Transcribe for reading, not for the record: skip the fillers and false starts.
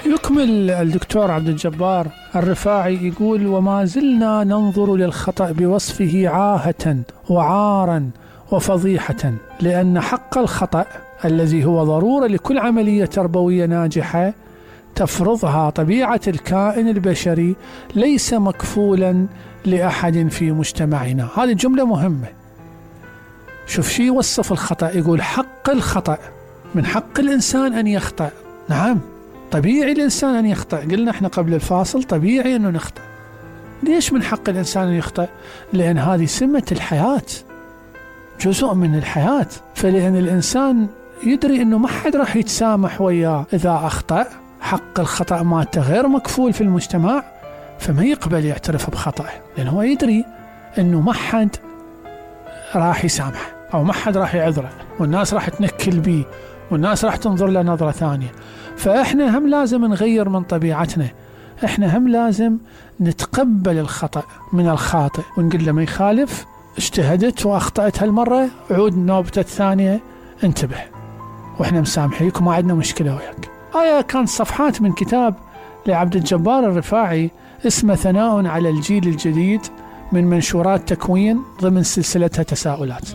يكمل الدكتور عبد الجبار الرفاعي يقول: وما زلنا ننظر للخطأ بوصفه عاهة وعارا وفضيحة، لأن حق الخطأ الذي هو ضرورة لكل عملية تربوية ناجحة تفرضها طبيعة الكائن البشري ليس مكفولا لأحد في مجتمعنا. هذه جملة مهمة. شوف شي يوصف الخطأ، يقول حق الخطأ، من حق الإنسان أن يخطأ. نعم، طبيعي الإنسان أن يخطأ، قلنا احنا قبل الفاصل طبيعي أنه نخطأ. ليش من حق الإنسان أن يخطأ؟ لأن هذه سمة الحياة، جزء من الحياة. فلأن الإنسان يدري أنه ما حد راح يتسامح وياه إذا أخطأ، حق الخطأ مالته غير مكفول في المجتمع، فما يقبل يعترف بخطأه، لأن هو يدري أنه ما حد راح يسامح أو ما حد راح يعذره، والناس راح تنكل بيه، والناس راح تنظر له نظرة ثانية. فإحنا هم لازم نغير من طبيعتنا، إحنا هم لازم نتقبل الخطأ من الخاطئ ونقول له ما يخالف، اجتهدت وأخطأت هالمرة، عود نوبتك الثانية، انتبه، وإحنا مسامحيك وما عندنا مشكلة وياك. كان صفحات من كتاب لعبد الجبار الرفاعي اسمه ثناء على الجيل الجديد من منشورات تكوين ضمن سلسلتها تساؤلات.